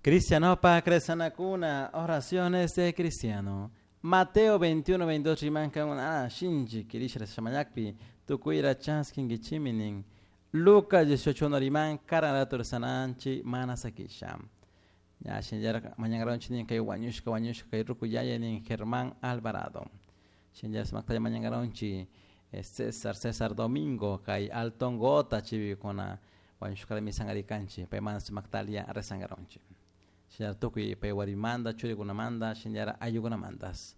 Cristianopa cresanakuna, oraciones de cristiano. Mateo 21, 22 rimanka shinchi kirishra shamayakpi tukuyra chaskinkichimi nin. Lucas 18 riman karan sananchi mana sakisha. Ya shinllar mañangaronchi nin kay wañushka wañushka kay ruku yaya nin Germán Alvarado. Shinllar sumaktalla mañangaronchi César César Domingo kay Alton Gota chivikuna wañushka misangarikanchi paymanta sumaktalia rezangaronchi. Shinllar tukuy pay warimanta churikunamanta shinllar ayllukunamantas.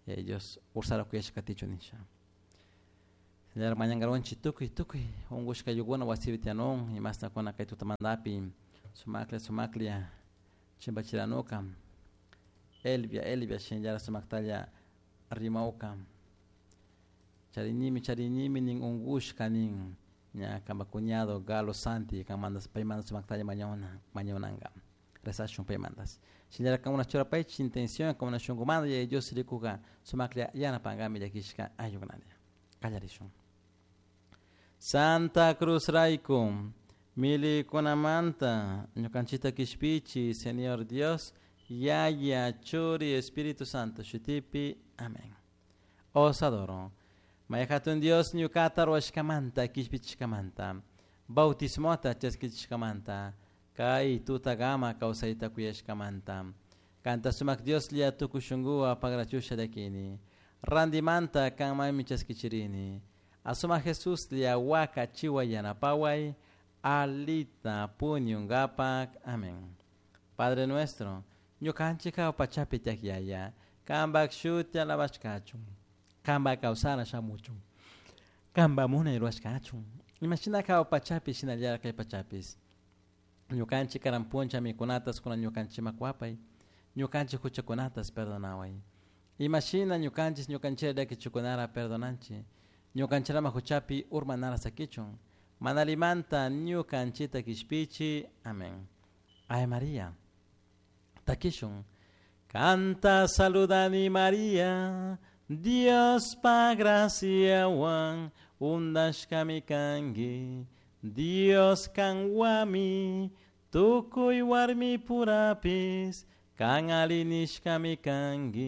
Ellos ursara kuyashka katichun nisha. Shinllar mañangaronchi tukuy tukuy unkushka ayllukuna wasipi tiyanun imastakuna kay tutamantapi sumaklla sumaklla chimpachiranuka Elvia Elvia shinllar sumaktalla rimawka charinimi charinimi nin unkushka nin ña kanpa cuñado Galo Santi kanmantas paymanta sumaktalla mañana mañananka rezashun paymantas shinllar kankuna churapaychik intención kankuna shunkumanta Yaya Dios rikuka sumaklla yanapankami llakishka ayllukunata kallarishun. Santa Cruz rayku milikunamanta ñukanchikta kishpichi Señor Dios Yaya Churi Espíritu Santo shutipi amén. Os adoro. May hatun Dios ñukata ruwashkamanta kishpichishkamanta bautismota chaskichishkamanta kay tutagama kawsayta kuyashkamanta kanta sumak Dioslla tukuy shunkuwan pagrachusha llakini randimanta kanmanmi chaskichirini asumak Jesuslla waka chiway yanapaway alita puñunkapak amén. Padre nuestro ñukanchik jahua pachapi tiyak yaya kanpak shuti alabashkachun kanpak kawsana shamuchun kanpak munay rurashkachun imashina jahua pachapi shinallara kay pachapis ñukanchik karan puncha mikunatas kunan ñukanchikman kuwapay ñukanchik huchakunatas perdonaway imashina ñukanchik ñukanchikta llakichikunara perdonanchik ñukanchikama huchapi urmanara sakichun mana allimanta ñukanchikta kishpichi amén. Ave María takishun kanta saludani María Diospa graciawan undashkami kanki Dios kanwami tukuy warmi purapis kan alli nishkami kanki.